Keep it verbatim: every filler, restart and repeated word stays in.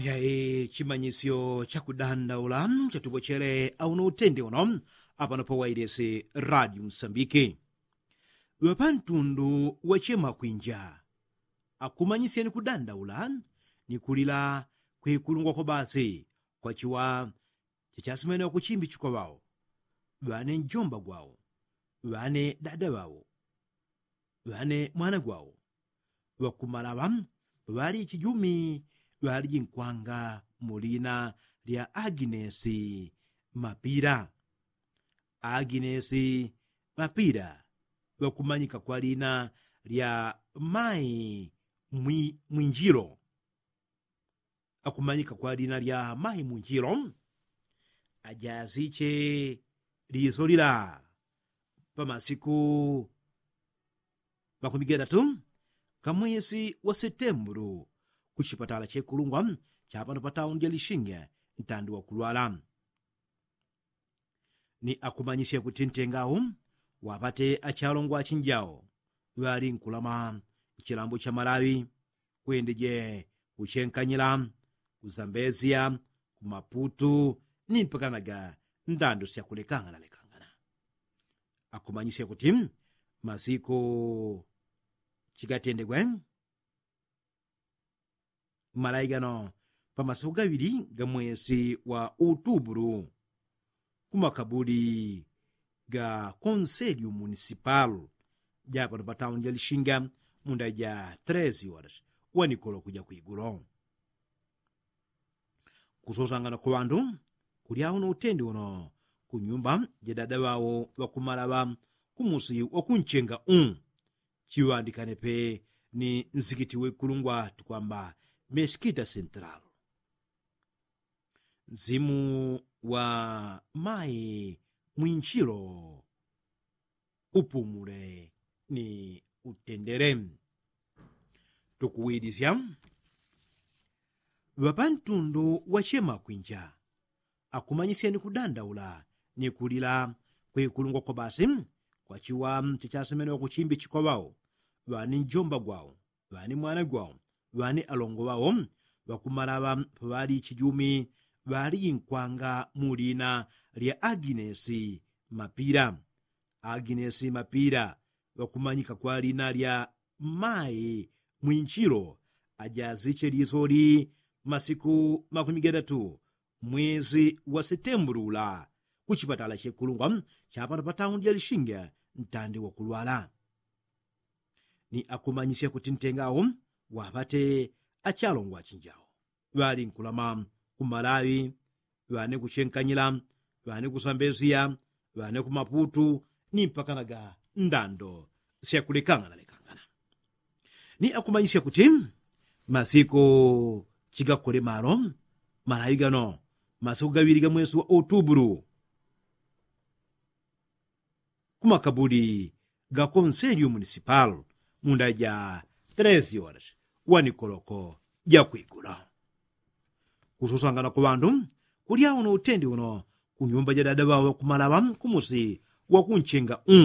Yayi chimanyisyo chakudandaula chatupochele auno utende uno apano pawailesi radio msambiki. Ŵapantundu wachema kwinja akumanyisyeni kudandaula ni kulila kwikulungwa kwa basi kwachiwa chachasimene wakuchimbichikwa ŵao, ŵane njomba gwao, ŵane dada ŵao, ŵane mwana gwao, ŵakumalaŵa ŵali chijumi ŵaliji nkwanga mu lina lya aginesi mapila. Aginesi mapila ŵakumanyika kwa lina lya mai mwinjilo. Akumanyika kwa lina lya mai mwinjilo. Ajaziche liso lila pamasiku makumi gatatu kamwesi wa setembulu kuchipatala chekulungwa chapano pataundi ya lishinge ntandi wakulwala. Ni akumanyisya kuti ntengawo wapate achalongwa achinjao ŵali nkulama nchilambo cha malawi, kwendeje kuchenkanyila, kuzambezya, kumaputu ni mpakanaga ndando syakulekangana lekangana. Akumanyisya kuti masiku chigatendegwe malawi gano pamasiku gaŵili ga mwesi wa utubulu kumakabuli ga konselyu munisipal japano patauni ja lishinga munda ja tresi horas wanikolo kuja kwigulo. Kusosangana kwa ŵandu kulya uno utendi uno kunyumba ja dada ŵao ŵakumalaŵa kumusi wakunchenga u chiŵandikane pe ni nsikiti wekulungwa tukwamba meskita sentral. Nzimu wa mai mwinchilo upumule ni utendele. Tukuwilisya ŵapantundu wachema kwinja akumanyisyeni kudandaula ni kulila kwikulungwa kwa basi kwachiwa chachasemene wakuchimbi chikwa ŵao ŵani njomba gwao ŵani mwana gwao ŵani alongo ŵao ŵakumalaŵa paŵali chijumi ŵaliji nkwanga mu lina lya aginesi mapila. Aginesi mapila ŵakumanyika kwa lina lya mai mwinchilo ajaziche lisoli masiku makumi gatatu mwezi wa setembulu ula kuchipatala chekulungwa chapano pataundi ja lishinga ntandi wakulwala. Ni akumanyisya kuti ntengawo waŵate achalongwa achinjao ŵali nkulama kumalawi ŵane kuchenkanyila ŵane kusambesiya ŵane kumaputu ni mpakanaga ndando syakulekangana lekangana. Ni akumanyisya kuti masiku chigakole malo malawi gano masiku gaŵili ga mwesi wa utubulu kumakabuli ga konselyo munisipal munda ja tresi horas wanikoloko jakwigula. Kususangana kwa ŵandu kulya uno utendi uno kunyumba ja dada ŵao ŵakumalaŵa kumusi wakunchenga u